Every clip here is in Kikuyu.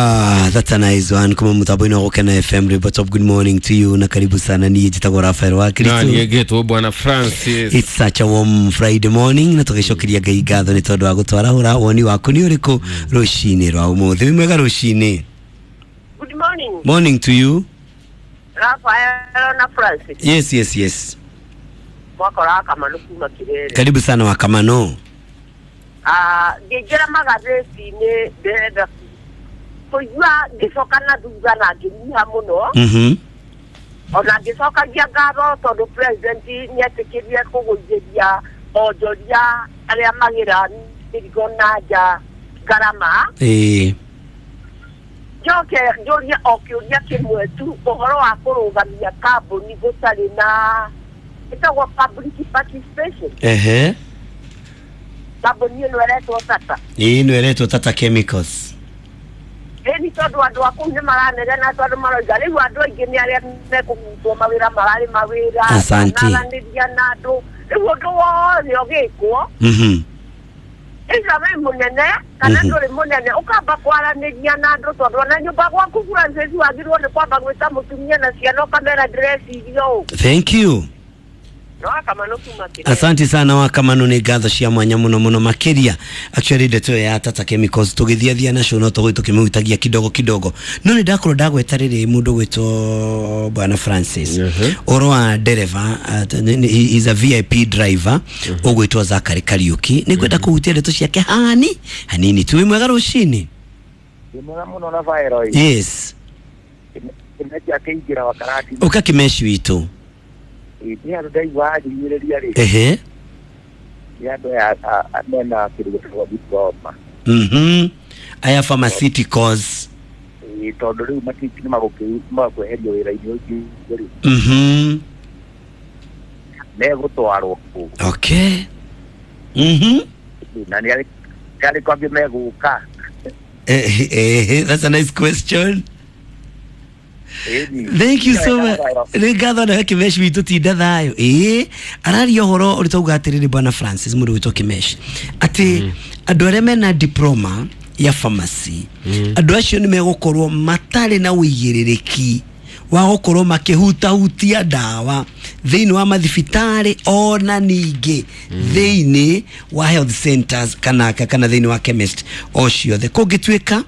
That's a nice one. Kuma mutambo-inĩ wa Gũkena FM Report of good morning to you na karibu sana. Niĩ njĩtagwo Rafael wa Na Kristo. niĩ ngĩtwo Bwana Francis. It's such a warm Friday morning na tũgĩcokeria Ngai ngatho nĩ tondũ wa gũtwarahũra. Woni waku nĩ ũrĩkũ rũcinĩ rwa ũmũthĩ? Wĩ mwega rũcinĩ? Good morning, Morning to you. Rafael na Francis. Yes. Mwakora Kamanu kuma Kirere. Karibu sana wa Kamano. Ah, ngĩingĩra magathĩti-inĩ ndĩrenda kũigua ngĩcoka na thutha na ngĩnyiha mũno ona ngĩcokagia ngatho tondũ president nĩetĩkĩrie kũgũithĩria onjoria arĩa magĩra mĩrigo na nja ngarama. Njoke njũrie o kĩũria kĩmwe tu, ũhoro wa kũrũgamia kambuni gũtarĩ na ĩtagwo public participation. Kambuni ĩno ĩretwo Tata. Ĩĩ, ĩno ĩretwo Tata Chemicals. Ĩni tondũ andũ a kũu nĩ maranegena tondũ maroiga rĩu andũ aingĩ nĩ arĩa mekũhutwo mawĩra mararĩ mawĩra. Asante. Manaranĩria na andũ rĩu ũndũ wothe ũgĩkwo either wĩ mũnene kana ndũrĩ mũnene, ũkamba kwaranĩria na andũ tondũ ona nyũmba gwaku Francis wagĩrĩirwo nĩ kwamba gwĩta mũtumia na ciana ũkamera ndĩreciria ũũ. Thank you. No Kamanu kuma Kirere. Asante sana wa Kamanu, nĩ ngatho cia mwanya mũno mũno makĩria. Actually ndeto ĩyo ya Tata Chemicals tũgĩthiathia nacio no tũgũthiĩ tũkĩmĩhutagia kidogo kidogo, no nĩ ndakorwo ndagweta rĩrĩ mũndũ gwĩtwo Bwana Francis ũhoro wa ndereba, he is a VIP driver ũgwĩtwo Zachary Kariuki. Nĩ ngwenda kũhutia ndeto ciake hani hanini tu. Wĩ mwega rũcinĩ? Ndĩ mwega mũno na Vaero. Yes. Kĩmeci akĩingĩra wa karati. Ũka kĩmeci witũ. Nĩ andũ ndaigua anjiguĩrĩria rĩ, nĩ andũ aya mena kĩndũ gĩtagwo diploma. Aya pharmaceuticals. Ĩ, tondũ rĩu nĩ magũkweherio wĩra-inĩ ũcio rĩ, megũtwarwo kũ? Okay. Na nĩ arĩkũ angĩ megũka? That's a nice question. Ĩni. Thank you so much. Nĩ ngatho nawe Kĩmeci witũ, tinda thayũ. Ĩĩ, araria ũhoro ũrĩa tauga atĩrĩrĩ Bwana Francis, mũndũ gwĩtwo Kĩmeci, atĩ andũ arĩa mena diploma ya pharmacy, andũ acio nĩ megũkorwo matarĩ na ũigĩrĩrĩki wa gũkorwo makĩhutahutia ndawa thĩinĩ wa mathibitarĩ ona ningĩ thĩinĩ wa health centers kana thĩinĩ wa chemist o ciothe kũngĩtuĩka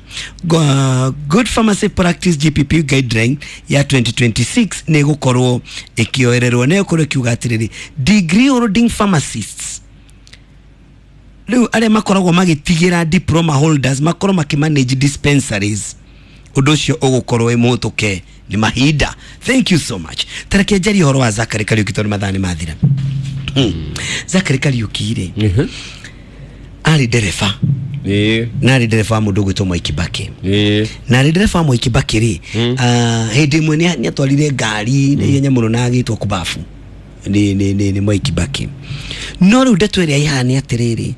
good pharmacy practice GPP guideline ya 2026 nĩ ĩgũkorwo ĩkĩoererwo, nĩ ĩgũkorwo ĩkiuga atĩrĩrĩ, degree holding pharmacists rĩu arĩa makoragwo magĩtigĩra diploma holders makorwo makĩmanage dispensaries, ũndũ ũcio ũgũkorwo wĩ mũhũtũke nĩ mahinda. Thank you so much. Tareke njarie ũhoro wa Zachary Kariuki tondũ mathaa nĩ mathira. Zachary Kariuki rĩ, arĩ ndereba na arĩ ndereba wa mũndũ ũgwĩtwo Mwai Kibaki. Na arĩ ndereba wa Mwai Kibaki rĩ, hĩndĩ ĩmwe nĩ atwarire ngari na ihenya mũno na agĩtwo kubabu nĩ Mwai Kibaki. No rĩu ndeto ĩrĩa ĩhana nĩ atĩrĩrĩ